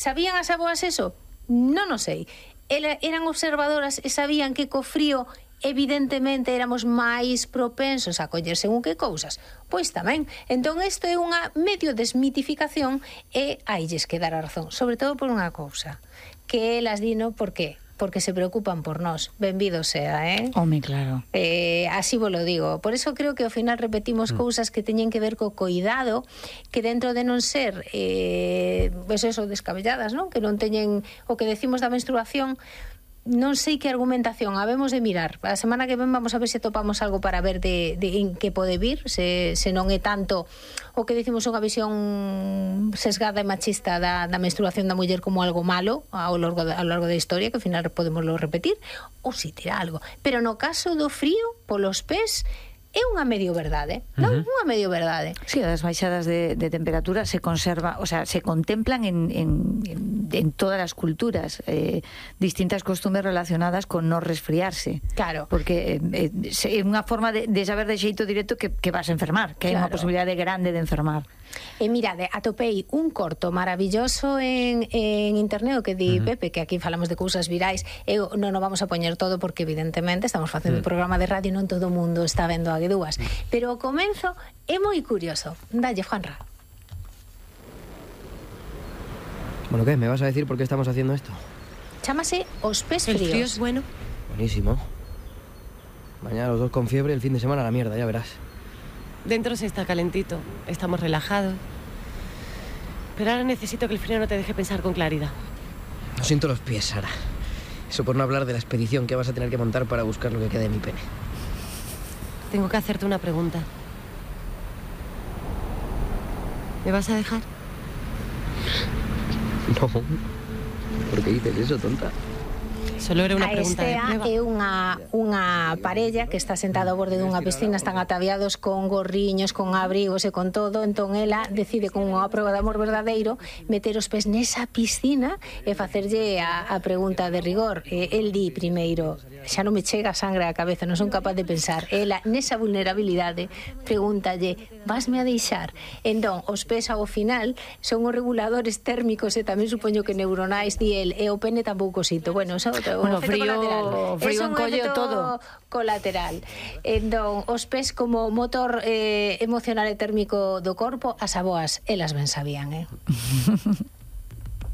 Sabían as avoas eso? Non o sei. Eran observadoras e sabían que co frío evidentemente éramos máis propensos a coller según que cousas. Pois tamén. Entón isto é unha medio desmitificación e ailles que dar a razón, sobre todo por unha cousa, que elas dino por qué? Porque se preocupan por nós. Benvido sea, Home, claro. Así vos lo digo. Por eso creo que ao final repetimos cousas que teñen que ver co coidado, que dentro de non ser pues eso, descabelladas, non? Que non teñen o que decimos da menstruación. Non sei que argumentación habemos de mirar. A semana que ven vamos a ver se topamos algo para ver de en que pode vir, se non é tanto o que decimos unha visión sesgada e machista da menstruación da muller como algo malo ao largo da historia, que ao final podemoslo repetir, ou se tira algo. Pero no caso do frío, polos pés, é unha medio verdade, non? Unha medio verdade. Sí, as baixadas de temperatura se conserva, o sea, se contemplan en todas as culturas, distintas costumes relacionadas con non resfriarse. Claro. Porque é unha forma de saber de xeito directo que vas a enfermar, que hai unha posibilidade grande de enfermar. E mirade, atopei un corto maravilloso en internet, o que di Pepe, que aquí falamos de cousas virais. Eu non o vamos a poñer todo porque evidentemente estamos facendo un programa de radio e non todo o mundo está vendo a Guedúas, pero o comenzo é moi curioso. Dalle, Juanra. Bueno, ¿qué? ¿Me vas a decir por qué estamos haciendo esto? Chámase Os Pés Fríos. El frío es bueno. Buenísimo. Mañana los dos con fiebre, el fin de semana a la mierda, ya verás. Dentro se está calentito, estamos relajados. Pero ahora necesito que el frío no te deje pensar con claridad. No siento los pies, Sara. Eso por no hablar de la expedición que vas a tener que montar para buscar lo que quede de mi pene. Tengo que hacerte una pregunta. ¿Me vas a dejar? No. ¿Por qué dices eso, tonta? Solo era unha pregunta de prueba. É unha parella que está sentada ao borde dunha piscina, están ataviados con gorriños, con abrigos e con todo. Entón ela decide, con unha prova de amor verdadeiro, meter os pés nesa piscina e facerlle a pregunta de rigor. El di primeiro, xa non me chega a sangre á cabeza, non son capaz de pensar. Ela, nesa vulnerabilidade, pregúntalle, vasme a deixar? Entón, os pés ao final son os reguladores térmicos e tamén supoño que neuronais, di el, e o pene tampouco sito. Bueno, eso Bueno, frío encolle todo. Colateral. Entón, os pés como motor emocional e térmico do corpo, as avoas, elas ben sabían,